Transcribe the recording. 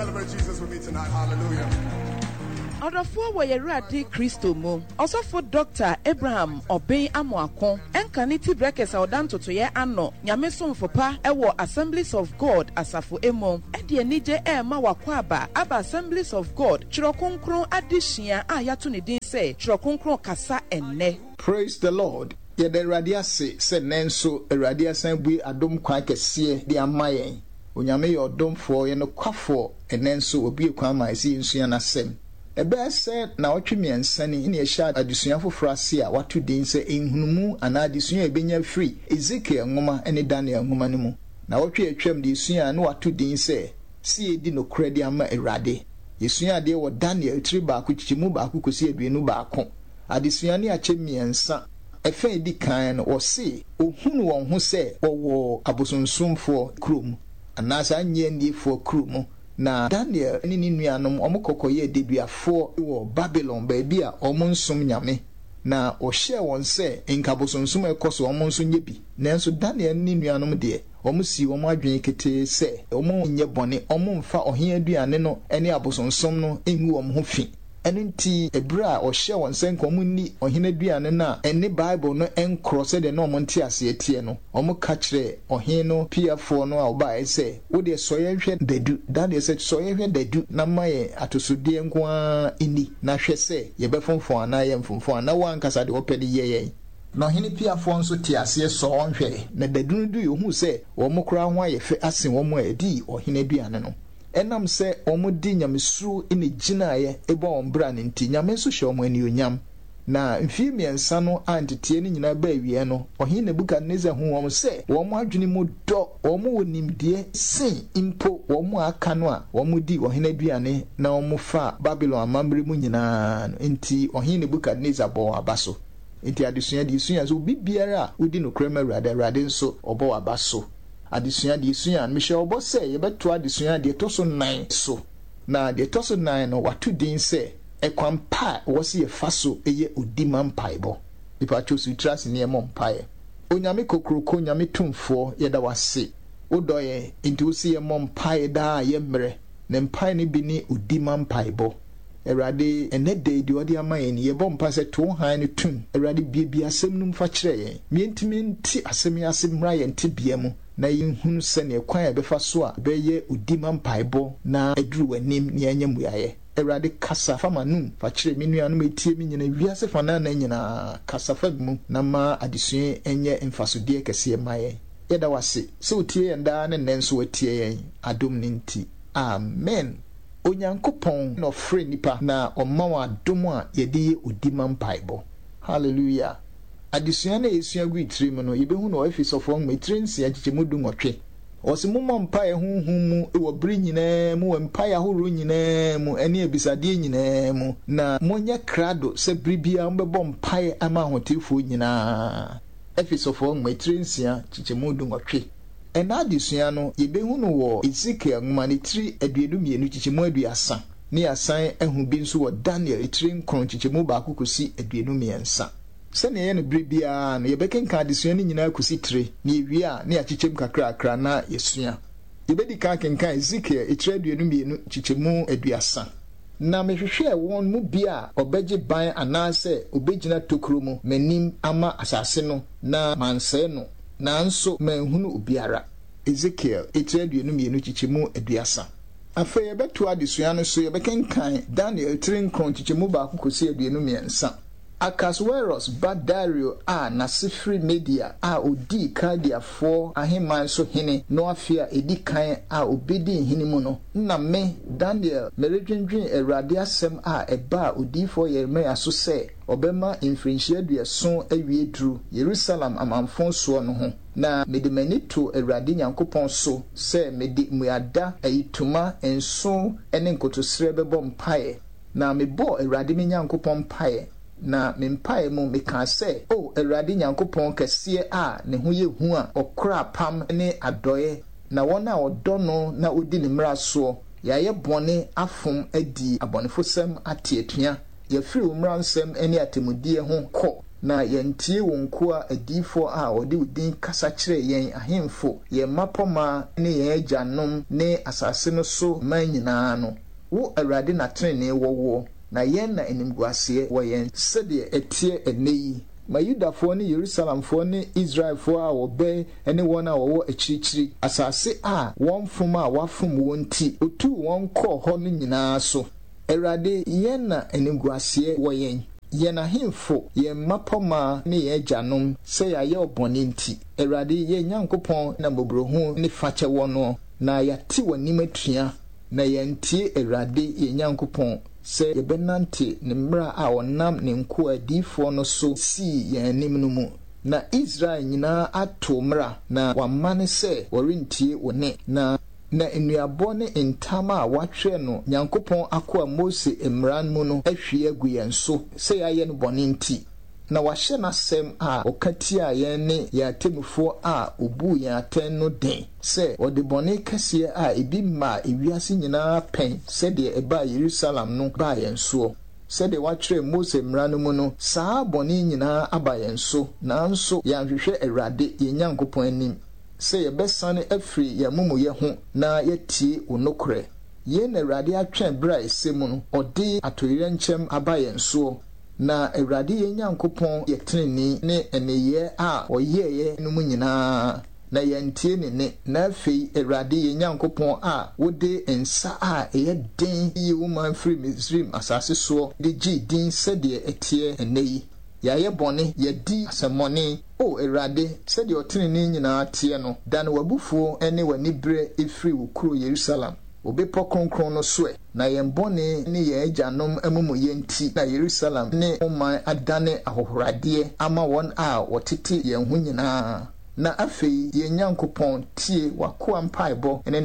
Celebrate Jesus with me tonight. Hallelujah. Ɔdɔfoɔ wɔ y'Awurade Kristo mu, Ɔsɔfo Dɔkta Abraham Obeng Amoako, ɛnka ne ti brɛkɛs a ɔda ntotoeɛ ano, Nyame somfo pa wɔ Assemblies of God asafo mu, de anigye rema w'akwaaba aba Assemblies of God Twerɛ Kronkron adesua a yɛato ne din sɛ Twerɛ Kronkron Kasa Ɛnnɛ. Praise the Lord Yɛda Awurade ase sɛ nnɛ nso Awurade asan abue adom kwan kɛseɛ de ama yɛn. Onyame yɛ ɔdomfoɔ, ɔyɛ nokwafoɔ, ɛnnɛ nso wabue kwan ama yɛn sɛ yɛnsua n'asɛm. Ɛbɛyɛ sɛ naawɔtwe mmiɛnsa ni na yɛhyɛɛ adesua foforɔ ase a wɔato din sɛ Nhunumu anaa Adesua a Yɛbɛnya Afiri Ezekiel Nwoma ne Daniel Nwoma no Mu. Naawɔtwe a atwam deɛ yɛsuaa no wɔato din sɛ Sɛ Yɛdi Nokorɛ De Ama Awurade. Yɛsuaa adeɛ wɔ Daniel tiri baako kyekyɛmu baako kɔsi 21. Adesua no akyɛ mmiɛnsa. Ɛfã a ɛdi kan no, wɔse wɔhunu wɔn ho sɛ wɔwɔ abosonsomfoɔ kuro mu, anaasɛ annye-anniefoɔ kuro mu. Na Daniel ne ne nuanom, wɔkɔ kɔyɛɛ deduafoɔ wɔ Babilon, baabi a wɔnsom nyame. Na wɔhyɛɛ wɔn sɛ nka abosonsom a ɛkɔ so wɔn nso nyɛ bi. Nanso Daniel ne ne nuanom deɛ, wɔsii wɔn adwene ketee sɛ wɔrenyɛ bɔne, wɔremfa ɔhene aduane no ne abosonsom no ngu wɔn ho fi. Ɛno nti, bere a ɔhyɛɛ wɔn sɛ nka wɔnni ɔhene aduane no a ɛne Bible no nkorɔ sɛdeɛ na wɔn nteaseɛ teɛ no, wɔka kyerɛɛ ɔhene no piafoɔ no a ɔbaeɛ sɛ, Wo deɛ, sɔ yɛn hwɛ dadu. Daniel sɛ, Sɔ yɛn hwɛ dadu na ma yɛn atosodeɛ nko ara nni, na hwɛ sɛ yɛbɛfonfɔn anaa yɛremfonfɔn a, na wo ankasa deɛ wopɛ no yɛ yɛn. Na ɔhene piafoɔ nso tee aseɛ sɔɔ wɔn hwɛe, na dadu no duiɛ ɔhuu sɛ wɔn koraa ho ayɛ fɛ asen wɔn a ɛdii ɔhene aduane no. Ɛnam sɛ wɔde nyamesuro na egyinaeɛ bɔ wɔn bra no nti, Nyame nso hyɛɛ wɔn anuonyam. Na mfeɛ mmiɛnsa no a nteteɛ no nyinaa baa awieɛ no, Ɔhene Nebukadnesar huu wɔn sɛ wɔn adwene mu dɔ, wɔn wɔ nimdeɛ sen mpo wɔn a aka no a wɔdi ɔhene aduane na wɔfa Babilon amammerɛ mu nyinaa no. Enti Ɔhene Nebukadnesar bɔɔ wɔn aba so. Enti adesua deɛ yɛsua sɛ obi biara a wodi nokorɛ ma Awurade, Awurade nso ɔbɔ w'aba so. Adesua, Deɛ yɛsua no, mehyɛ wo bɔ sɛ yɛbɛtoa adesua a deɛ ɛtɔ so nnan so. Na deɛ ɛtɔ so nnan no, wɔato din sɛ, Ɛkwan Pa a Ɛwɔ Sɛ Yɛfa So Yɛ Odi Ma Mpaebɔ. Mepakyɛw si wo tiri ase na yɛmmɔ mpaeɛ. Onyame Kokroko, Nyame Tumfoɔ, yɛda wo ase. Wodɔ yɛn, enti wose yɛmmɔ mpaeɛ daa a yɛmmrɛ. Na mpaeɛ no bi ne odi ma mpaebɔ. Awurade, ɛnnɛ da yi deɛ wode ama yɛn yi, yɛbɔ mpaeɛ sɛ to wo hann no tom. Awurade, buebue asɛm no mu fa kyerɛ yɛn. Ma yɛntumi nte asɛm yi ase mmra yɛn tebea mu, na yɛnhunu sɛdeɛ kwan a yɛbɛfa so a ɛbɛyɛ odi ma mpaebɔ na aduru w'anim na yɛanya mmuaeɛ. Awurade, kasa fa m'anom fa kyerɛ me nuanom a ɛtie me nyinaa, wiase fanaanaa nyinaa, kasa fa me mu na ma adesua yi nyɛ mfasodeɛ kɛseɛ mma yɛn. Yɛda wo ase sɛ wotie yɛn daa ne nnɛ nso woatie yɛn, adom no nti. Amen. Onyankopɔn na ɔfrɛ nnipa na ɔma wɔn adom a yɛde yɛ odi ma mpaebɔ. Hallelujah! Adesua no a yɛsua gui tire mu no, yɛbɛhu no wɔ Efesɔfoɔ nwoma etire nsia nkyekyɛmu dunwɔtwe. Ɔse mommɔ mpaeɛ honhom mu wɔ bere nyinaa mu wɔ mpaeɛ ahoroɔ nyinaa mu ne abisadeɛ nyinaa mu, na monyɛ krado sɛ bere biara mobɛbɔ mpaeɛ ama ahoteefoɔ nyinaa. Efesɔfoɔ nwoma etire nsia nkyekyɛmu dunwɔtwe. Ɛnnɛ adesua no, yebehu no wɔ Ezekiel nwoma no tiri 22 nkyekyɛmu 30, ne yɛasan ahu bi nso wɔ Daniel tiri nkron nkyekyɛmu baako kosi 23. Sɛnea yɛyɛ no bere biara no, yɛbɛkenkan adesua no nyinaa kosi tire, na yewie a, na yɛakyekyɛm kakrakra na yɛasua. Yebedi kan akenkan Ezekiel tiri 22 nkyekyɛmu 30. Na mehwehwɛɛ wɔn mu bi a ɔbɛgye ban anaasɛ obegyina tokuro mu m'anim ama asase no na mansɛe no, nanso manhunu obiara. Ezekiel etiri 22 kyekyɛmu 30. Afei yɛbɛtoa adesua no so, yɛbɛkenkan Daniel tiri nkron nkyekyɛmu baako kɔsi 23. Akas-weros ba Dario a n'ase firi Media a ɔdii Kaldeafoɔ ahemman so hene no afe a ɛdi kan a ɔbɛdii hene mu no, na me, Daniel, meredwendwene Awurade asɛm a ɛbaa odiyifoɔ Yeremia so sɛ ɔbɛma mfirinhyia aduɔson awie duru Yerusalem amamfõ soɔ no ho, na mede m'ani too Awurade Nyankopɔn so sɛ mede mmuada, ayitoma, nsõ ne nkotosrɛ bɛbɔ mpaeɛ. Na mebɔɔ Awurade me Nyankopɔn mpaeɛ, na me mpaeɛ mu mekaa sɛ, O Awurade Nyankopɔn kɛseɛ a ne ho yɛ hu a ɔkora apam ne adɔeɛ na wɔn a wɔdɔ no na wɔdi ne mmara soɔ, yɛayɛ bɔne afom adi abɔnefosɛm ate atua, yɛafiri wo mmaransɛm ne atemmudeɛ ho kɔ. Na yɛantie wo nkoa adiyifoɔ a wɔde wo din kasa kyerɛɛ yɛn ahemfo, yɛn mmapɔmma ne yɛn agyanom ne asase no so man nyinaa no. Wo, Awurade na tenenee wɔ woɔ, na yɛn na animguaseɛ wɔ yɛn. Sɛdeɛ ɛteɛ ɛnnɛ yi. Ma Yudafoɔ ne Yerusalemfoɔ ne Israelfoɔ a wɔbɛn ne wɔn a wɔwɔ akyirikyiri, asase a wɔn fom a wɔafom wɔn nti wɔtuu wɔn kɔɔ hɔ no nyinaa so. Awurade, yɛn na animguaseɛ wɔ yɛn, yɛn ahemfo, yɛn mmapɔmma ne yɛn agyanom, sɛ yɛayɛ wo bɔne nti. Awurade, yɛn Nyankopɔn na mmɔborɔhunu ne fakyɛ wɔ noɔ, na yɛate w'anim atua, na yɛantie Awurade yɛn Nyankopɔn sɛ yɛbɛnante ne mmara a ɔnam ne nkoa adiyifoɔ no so sii yɛn anim no mu. Na Israel nyinaa ato wo mmara, na wɔamane sɛ wɔrentie wo nne, na. Na nnuabɔ ne ntam a wɔatwerɛ no Nyankopɔn akoa Mose mmara mu no ahwie agu yɛn so sɛ yɛayɛ no bɔne nti. Na wahyɛ n'asɛm a ɔka tiaa yɛn ne yɛn atemmufoɔ a ɔbuu yɛn atɛn no den, sɛ ɔde bɔne kɛseɛ a ebi mmaa ewiase nyina ara pɛn sɛdeɛ ɛbaa Yerusalem no baa yɛn soɔ. Sɛdeɛ wɔatwerɛ Mose mmara no mu no, saa ara bɔne yi nyina ara aba yɛn so, nanso yɛanhwehwɛ Awurade, yɛn Nyankopɔn anim, sɛ yɛbɛsane afiri yɛn amumuyɛ ho na yɛatie wo nokorɛ. Yei na Awurade atwɛn berɛ a ɛsɛ mu no, ɔde atoyerɛnkyɛm aba yɛn soɔ. Na Awurade yɛn Nyankopɔn yɛ tenenee ne nneyɛɛ a ɔyɛeɛ no mu nyina ara, na yɛantie ne nne. Na afei, Awurade yɛn Nyankopɔn a wode nsa a ɛyɛ den yii wo man firii Misraim asase soɔ de gyee din sɛdeɛ ɛteɛ ɛnnɛ yi, yɛayɛ bɔne, yɛadi asɛmmɔne. O Awurade, sɛdeɛ ɔtenenee nyinaa teɛ no, dane w'abufuo ne w'aniberɛ firi wo kuro Yerusalem, wo bepɔ kronkron no so ɛ. Na yɛn bɔne ne yɛn agyanom amumuyɛ nti na Yerusalem ne wo man adane ahohoradeɛ ama wɔn a wɔtete yɛn ho nyinaa. Na afei, yɛn Nyankopɔn, tie w'akoa mpaebɔ ne.